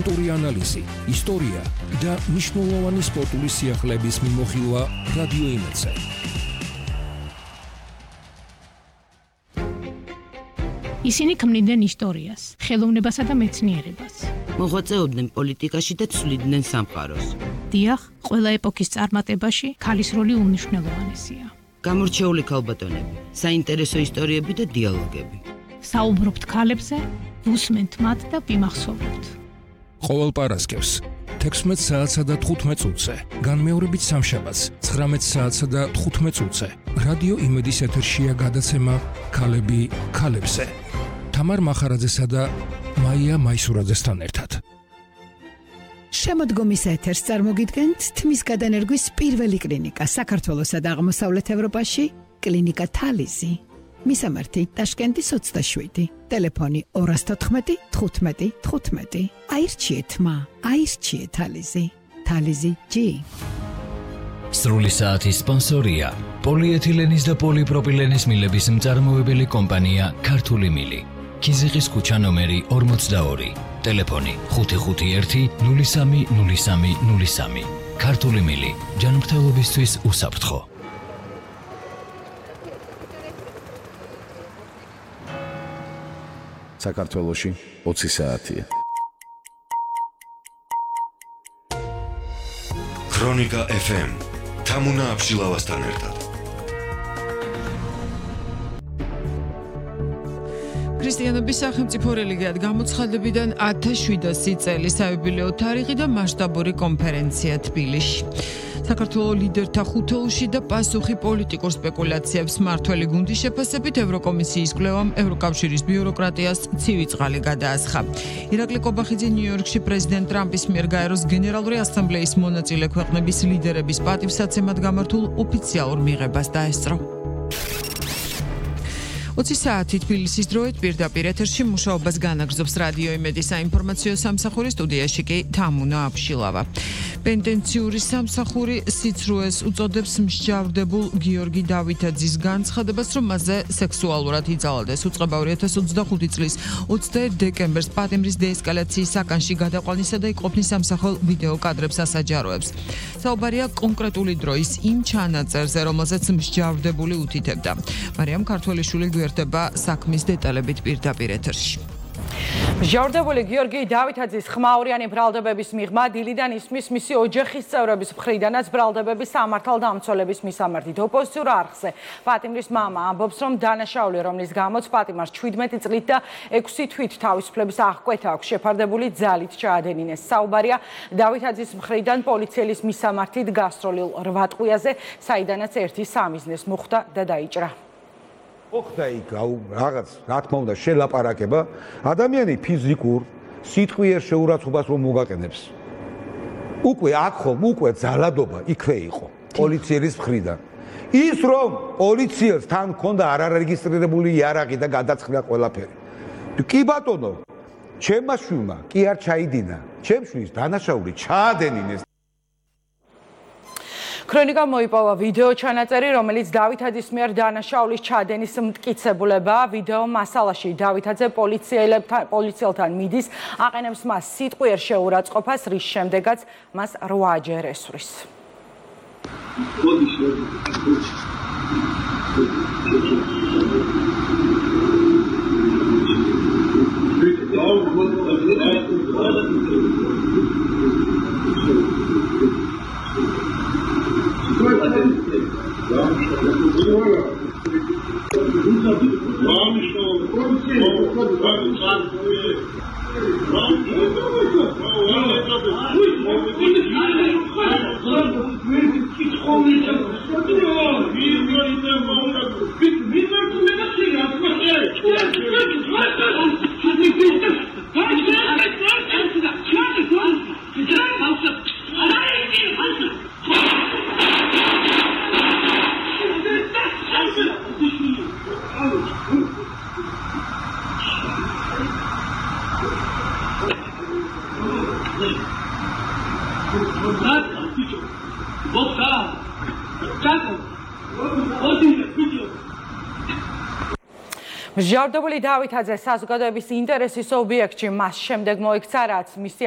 კულტურული ანალიზი, ისტორია და მნიშვნელოვანი სპორტული სიახლეების მიმოხილვა რადიო იმედზე. ისინი ქმნიდნენ ისტორიას, ხელოვნებასა და მეცნიერებას. მოღვაწეობდნენ პოლიტიკაში და ცვლიდნენ სამყაროს. დიახ, ყველა ეპოქის წარმატებაში ქალის როლი უმნიშვნელოვანესია. გამორჩეული ქალბატონები, საინტერესო ისტორიები და დიალოგები. საუბრობთ ქალებზე, ვუსმენთ მათ და ვიმახსოვრებთ. ყოველ პარასკევს 16 საათსა და 15 წუთზე, განმეორებით სამშაბათს 19 საათსა და 15 წუთზე. რადიო იმედის ეთერშია გადაცემა ქალები ქალებზე. თამარ მახარაძესა და მაია მაისურაძესთან ერთად. შემოდგომის ეთერს წარმოგიდგენთ თმის გადანერგვის პირველი კლინიკა საქართველოსა და აღმოსავლეთ ევროპაში, კლინიკა თალიზი. მისამართი ტაშკენტის 27, ტელეფონი 214 15 15. აირჩიეთ მა, აირჩიეთ თალიზი. თალიზი G. სრული საათის სპონსორია პოლიეთილენის და პოლიპროპილენის მილების მწარმოებელი კომპანია ქართული მილი. ქიზიყის ქუჩა ნომერი 42, ტელეფონი 551 03 03 03. ქართული მილი, ჯანმრთელობისთვის უსაფრთხო. საქართველოში 20 საათია. ქრონიკა FM თამუნა აბშილავასთან ერთად. ქრისტიანობის სახელმწიფო რელიგიად გამოცხადებიდან 1700 წელი საიუბილეო თარიღი და მასშტაბური კონფერენცია თბილისში. საქართველოს ლიდერთა ხუთეულში და პასუხი პოლიტიკურ სპეკულაციებს მართველი გუნდის შეფასებით ევროკომისიის კვლევამ ევროკავშირის ბიუროკრატიას ცივი წყალი გადაასხა. ირაკლი კობახიძე ნიუ-იორკში პრეზიდენტ ტრამპის მიერ გაეროს გენერალური ასამბლეის მონაწილე ქვეყნების ლიდერების პატივსაცემად გამართულ ოფიციალურ მიღებას დაესწრო. 20 საათი თბილისის დროით პირდაპირ ეთერში მუშაობას განაგრძობს რადიო იმედის საინფორმაციო სამსახური, სტუდიაში კი თამუნა აბშილავა. პენტენციური სამსახური სიცრუეს უწოდებს მსჯავრდებულ გიორგი დავითაძის განცხადებას, რომ მასზე სექსუალურად იძალდეს. უწყება 2025 წლის 21 დეკემბერს პატიმრის დეესკალაციის საკანში გადაყვანისა და იყოფნის სამსახურ ვიდეო კადრებს ასაჯაროებს. საუბარია კონკრეტული დროის იმ ჩანაწერზე, რომელზეც მსჯავრდებული უთითებდა. მარიამ ქართველიშვილი გვერდება საქმის დეტალებით პირდაპირ ეთერში. მსჯავრდებული გიორგი დავითაძის ხმაურიანი ბრალდებების მიღმა დილიდან ისმის მისი ოჯახის წევრების მხრიდანაც ბრალდებების სამართალდამცველების მისამართით. ოპოზიციურ არხზე პატიმრის მამა ამბობს, რომ დანაშაული, რომლის გამოც პატიმარს 17 წლით და 6 თვით თავისუფლების აღკვეთა აქვს შეფარდებული, ძალით ჩაადენინეს. საუბარია დავითაძის მხრიდან პოლიციელის მისამართით გასროლილ 8 ტყვიაზე, საიდანაც ერთი სამიზნეს მოხვდა და დაიჭრა. ოხდა იქ რაღაც რა თქმა უნდა შელაპარაკება ადამიანი ფიზიკურ სიტყვიერ შეურაცხყოფას რომ მოგაყენებს უკვე აქ ხომ უკვე ძალადობა იქვე იყო პოლიციის მხრიდან ის რომ პოლიციელს თან ქონდა არარეგისტრირებული იარაღი და გადაწყდა ყველაფერი კი ბატონო ჩემმა შვილმა კი არ ჩაიდინა ჩემ შვილს დანაშაული ჩაადენინეს. ქრონიკა მოიპოვა ვიდეო ჩანაწერი, რომელიც დავითაძის მიერ დანაშაულის ჩადენის მტკიცებულებაა. ვიდეო მასალაში დავითაძე პოლიციელთან მიდის, აყენებს მას სიტყვიერ შეურაცხყოფას, რის შემდეგაც მას 8-ჯერ ესვრის. მსჯავრდებული დავითაძე საზოგადოების ინტერესის ობიექტში მას შემდეგ მოიქცა, რაც მისი